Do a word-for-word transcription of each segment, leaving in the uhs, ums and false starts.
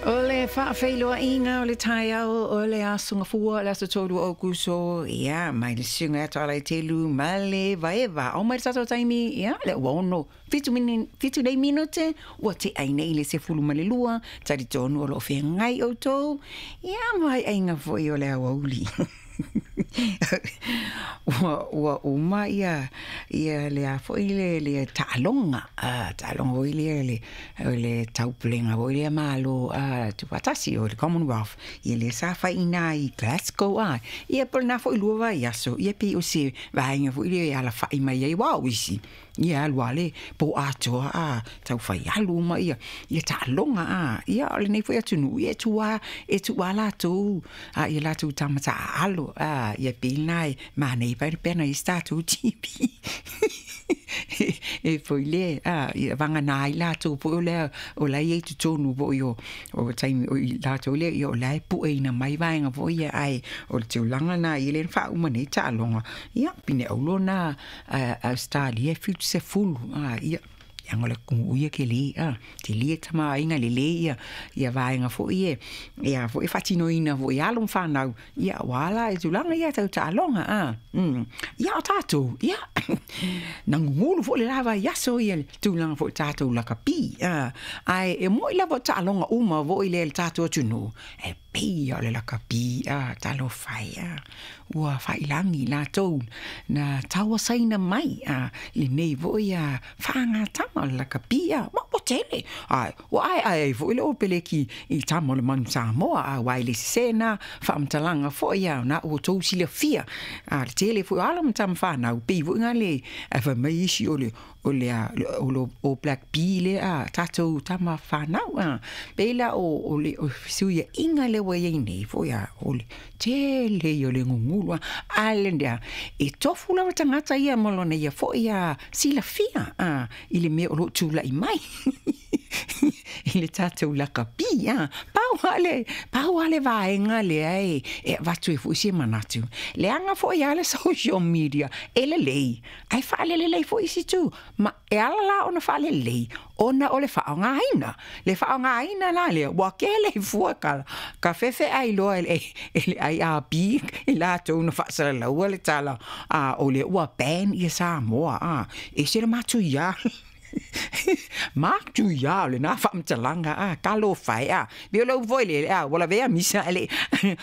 O le faafeiloaiga o le taeao o le Aso Gafua, le aso tolu o Aokuso, ia, mai le susuga ia Toalaitelu ma le Vaeva. Ao mai le tatou taimi, ia, le ua ono fitu mini, fitu nei minute, ua tea ai nei le sefulu ma le lua, talitonu o loo feagai outou, ia, ma aiaiga foi o le aoauli. Ua, ua uma ia, ia le a foi le, le taaloga, a, taaloga foi lea le, le taupulega foi lea Malo a tuufaatasi o le Commonwealth, ia lea sa faiina i Glasgow a. Ia po o lena foi lua vaiaso, ia pei o se vaega foi lea e alafai mai ai uaʻo isi. Ia alu a le po atoa a tau fai alu ma ia ia taaloga a. Ia o lenei foi atunuu ia e tua e tua latou a ia latou tama taaalo a ia pei lena e manaia pai le pena i se tatou T V. E foi le a ia vagana ai latou foi o lea o la i ai totonu foi o o taimi o i latou lea ia o la e pueina mai vaega foi ia ai o le tulaga na ia le faauma nei taaloga ia pine aulo na Australia fitu sefulu a ia ia ngola ku ia ke le a te lie tama inga le le ia ia vaega foi e ia foi faatinoina foi alo ma fanau ia wala e tulaga ia tau taaloga a mm ia o tatou ia nagugulu foi le lava i aso ia le tulaga foi tatou lakapi a ae e moi lava taaloga uma foi le le tatou atunuu e pei o le lakapi a talofa e a ua failagi latou na tauasaina mai a lenei foi a faagatama o le lakapi a ma ua tele a ua aeae ai foi le opeleki i tama o le manu Samoa a ua e le sesē na faamatalaga foi a na ua outou silafia a le tele foi o alo ma tama fanau pei foi ga le ae fai mai isi o le o le a o le o Black Bee le a tatou tama fanau a pei la o o le o fesuiaiga le ua iai nei foi a o le tele ia o le gugulu a a le lea e tofu lava tagata ia ma lona ia foi a silafia a i le mea o loo tula'i mai i le tatou lakapi a pau a le pau a le vaega lea e e avatu ai foi se manatu leaga foi a le social media e lelei ae faalelelei foi isi itu ma e ala la ona faalelei ona o le faaaogaina le faaaogaina la lea ua kele fua ka ka fefe ai loa e e le I R B i latou na faasalalaua le tala a o le ua ban ia Samoa a e se le matuia matuia o lena faamatalaga a talofa e a pei o le upu foi lele a ua lavea misa e le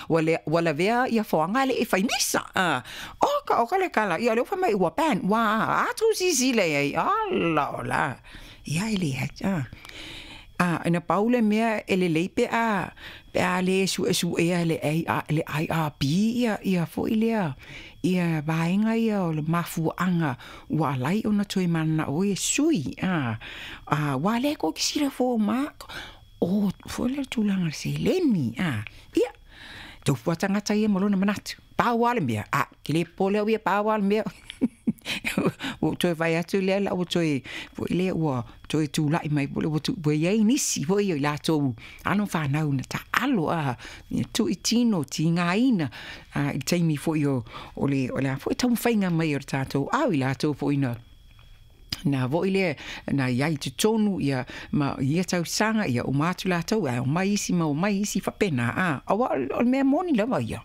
ua le ua lavea ia foaga e le i fai misa a oka oka le kala ia o le upu fai mai ua ban ua atu sisila i ai ala o la ia e le a a ina pau le mea e lelei pe a pe a le suesuea le le I R B ia ia foi lea ia vaega ia o le mafuaaga ua alai ona toe mananao ai e sui a a ua le ko ki silafua ma o foi le tulaga le seleni a ia tofu a tagata ia ma lona manatu pau a le mea a ke le popole au ia pau a le mea ua toe fai atu lea la ua toe foi lea ua toe tula'i mai foi ua tu ua iai nisi foi o i latou alo ma fanau na taalo a ia tuuitino tigaina a i le taimi foi o o le o le a foi taumafaiga mai o le tatou au i latou foi na na foi lea na iai totonu ia ma ia tausaga ia uma atu latou ae omai isi ma omai isi faapena a auā o le mea moni lava ia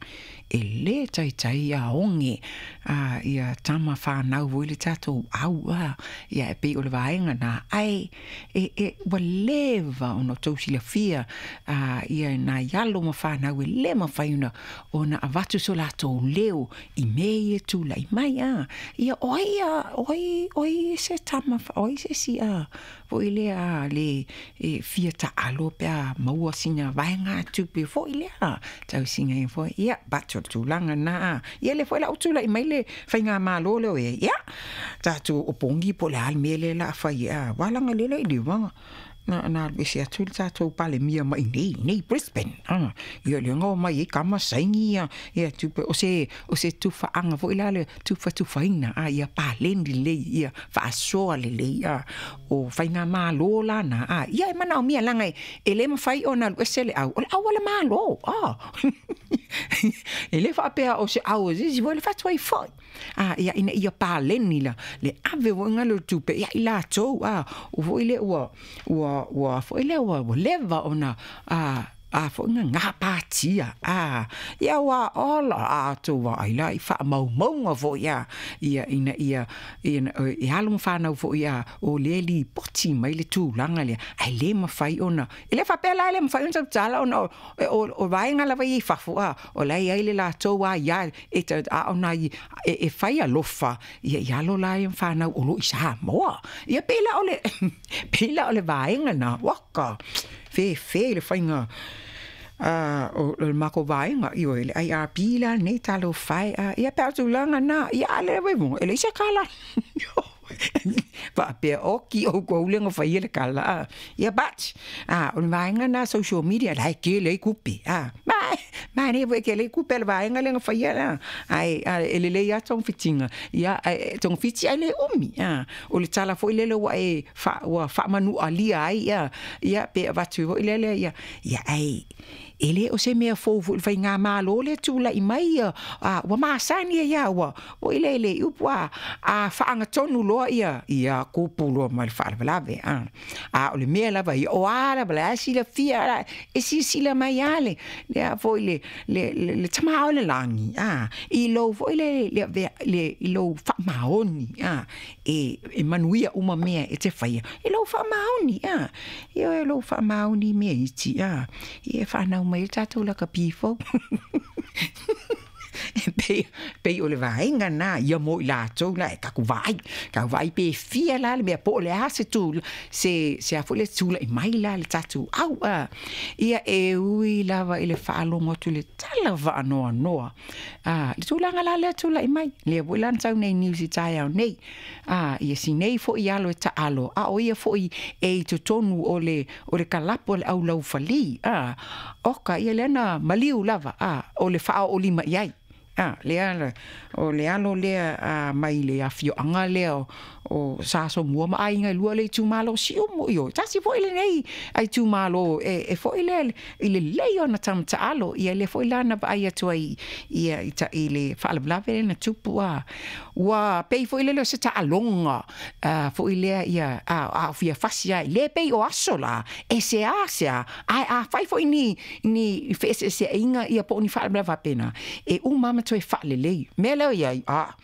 e lē taitai aoge a ia tama fanau foi le tatou au a ia e pei o le vaega na ae e e ua leva ona outou silafia a ia nai alo ma fanau e lē mafai ona ona avatu so latou leo i mea ia tula'i mai a ia o ai a o ai o ai se tama o ai se isi a foi lea le e fia taalo pe a maua sina vaega tupe foi lea tausiga ai foi ia but o le tulaga na ia lea foi la ua tula'i mai le faigamālō lea o i ai ia tatou opogi po o le a le mea lea o le a fai a ua laga lea le i liuga na na alu ese atu le tatou Palemia mai i nei Brisbane a ia lea na omai ai kama saini ia ia tupe o se o se tufaaga foi la le tufatufaina a ia paleni lelei ia faasoa lelei a o faigamālō lana a ia e manaomia laga e lē mafai ona alu ese le au o le au a le mālō a e lē faapea o se au o se isi foi le fatu ai foi a ia ina ia paleni la le ave foi ga le tupe ia i latou a o foi lea ua ua ua ua foi lea ua ua leva ona a a foi na gapatia a ia ua ola a tou vaai la i faamaumauga foi a ia ina ia ina e alo ma fanau foi a o lea e lipoti mai le tulaga lea ae lē mafai ona e le faapea la e le mafai ona tautala ona o o vaega lava ia i fafo a o la e i ai le latou aia e a ona e e fai alofa ia i alo la ia ma fanau o lo o i Samoa. Ia pei la o le pei la o le vaega lena waka fefe le faiga a o le makou vaega ioe le I R P la lenei talofa e a ia pe a o tulaga na ia a le e leai se kala faapea oki oukou le na faia le kala a ia but a o le vaega na social media la e tele ai kupe a ma manaia foi e tele ai kupe a le vaega lea na faia la ae e lelei lava togafitiga ia ae togafiti ae le umi a o le tala foi lele ua e ua faamanualia ai ia ia pe avatu foi lele ia ia ae e le o se mea fou foi i le faigamalo lea e tulai mai ia a ua masani ai lava ua foi lele i upu a a faagatonu loa ia ia tupu loa ma le faalavelave a a o le mea lava ia o a lava la e silafia e silasila mai lava le le a foi le le le Tama o le lagi a i lou foi le le le i lou faamaoni a e e manuia uma mea e te faia i lou faamaoni a ioe lou faamaoni i mea iti a ia e fanau mai ai le tatou lakapi fou e pei pei o le vaega lena ia mo i latou la e tatou vaai tatou vaai pe fia la le mea po o le a se tu se se a foi le tulai mai la le tatou au a ia e ui lava i le faalogo atu i le tala faanoanoa a le tulaga la lea tulai mai lea foi la na sau nei news i taeao nei a ia si nei foi alo e taalo a o ia foi e i totonu o le o le kalapu a le aulaufali a oka ia lea na maliu lava a o le faaoolima i ai a lea o le alo lea a mai le afioaga lea o o Sasomua ma aiga e lua le itumalo o Siumu ioe tasi foi lenei itumalo e e foi lea i le lelei ona tamata'alo ia lea foi la na vaai atu ai ia i ta i le faalavelave lea na tupu a ua pei foi lele o se taaloga a foi lea ia a a fia fasi ai le pei o aso la e seasea ae afai foi ni ni feeseeseaiga ia po o ni faalavelave faapena e uma lava ma toe faalelei mea lea o i ai a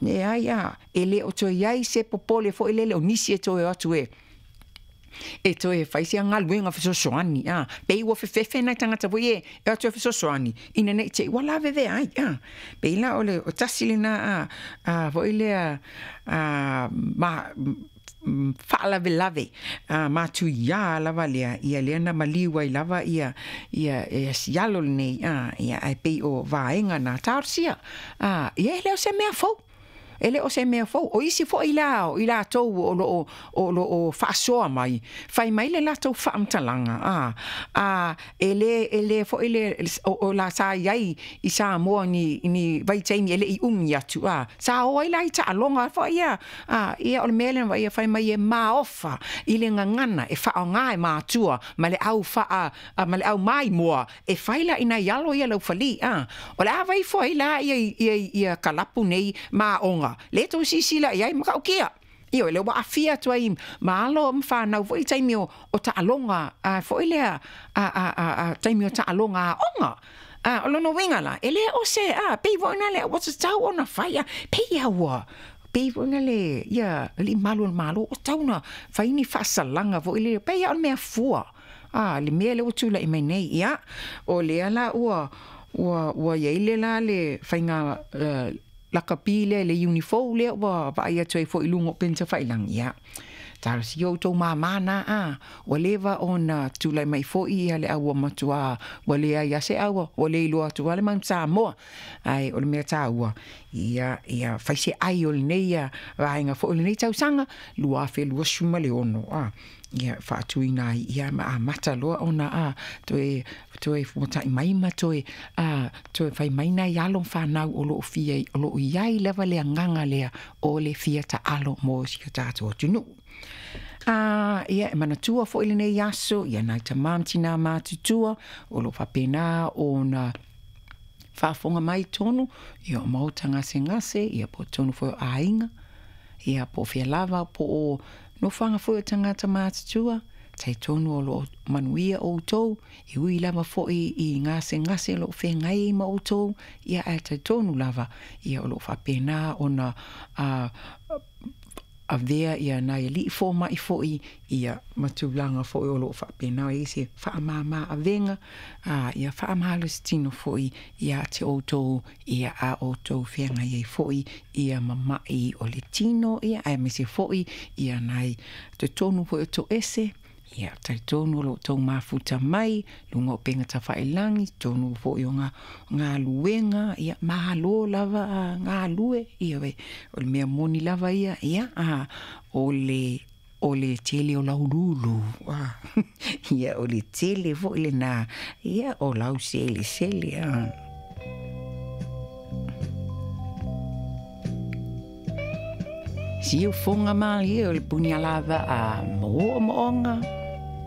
leai a e le o toe i ai se popole foi lele o nisi e toe o atu e e toe fai sia galuega fesoasoani a pei ua fefefe nai tagata foi e e o atu e fesoasoani ina nei te i ua lavevea ai a pei la o le o tasi lena a a foi lea a ma faalavelave a matuiā lava lea ia lea na maliu ai lava ia ia ia si alo lenei a ia ae pei o vaega na talosia a ia e le o se mea fou e le o se mea fou o isi foi la o i latou o lo o o lo o faasoa mai fai mai le latou faamatalaga a a e le e le foi le o o la sa i ai i Samoa ni ni vaitaimi e le i umi atu a sa o ai la i taaloga foi ia a ia o le mea lea na ia fai mai e maofa i le gagana e faaaoga e matua ma le au faa ma le au maimoa e fai la ina i alo ia laufali a o le a vai ifo ai la ia ia ia kalapu nei ma aoga lea tou silasila i ai matautia ioe lea ua aafia atu ai ma alo ma fanau foi i taimi o o taaloga a foi lea a a a a taimi o taaloga aoga a o lona uiga la e le o se a pei foi lea ua tatau ona fai a pei lava ua pei foi lea ia alii malu o le Malo ua tatau ona fai ni faasalaga foi lea pei lava o le mea fua a le mea lea ua tulai mai nei ia o lea la ua ua ua i ai le la le faiga lakapi lea le iuni fou lea ua vaai atu ai foi i luga o upega tafailagi ia talosia outou māmā na a ua leva ona tulai mai foi ia le au ua matuā ua leai lava se au ua le iloa atu lava le Mount Samoa ae o le mea taua ia ia fai se ai o lenei ia vaega foi o lenei tausaga lua afe luasefulu ma le ono a ia faatuina ai ia ma amata loa ona a toe toe fuata'i mai ma toe a toe fai mai nai alo ma fanau o lo o fia o lo o i ai lava le agaga lea o le fia taalo mo si o tatou atunuu. A ia e manatua foi lenei aso ia nai tamā ma tinā matutua o lo o faapena ona faafofoga mai tonu ia o maota gasegase ia po o tonu foi o aiga ia po o fea lava po o nofoaga foi o tagata matutua Talitonu o loo manuia outou, e ui lava foi i gasegase o loo feagai ai ma outou, ia ae talitonu lava, ia o loo faapena ona a avea ia nai alii fomai foi, ia ma tulaga foi o loo faapena ai se faamama avega, a ia faamalositino foi ia te outou, ia a outou feagai ai foi ia ma mai o le tino, ia aemaise foi ia nai totonu foi o toese. Ia talitonu o lo outou mafuta mai luga o upega tafailagi, totonu foi o galuega, ia malo lava galue, ia o le mea moni lava ia, ia a o le o le tele o lauulūlū, ia o le tele foi lena, ia o lau selesele a. Siufoga malie o le punialavaa mo omooga.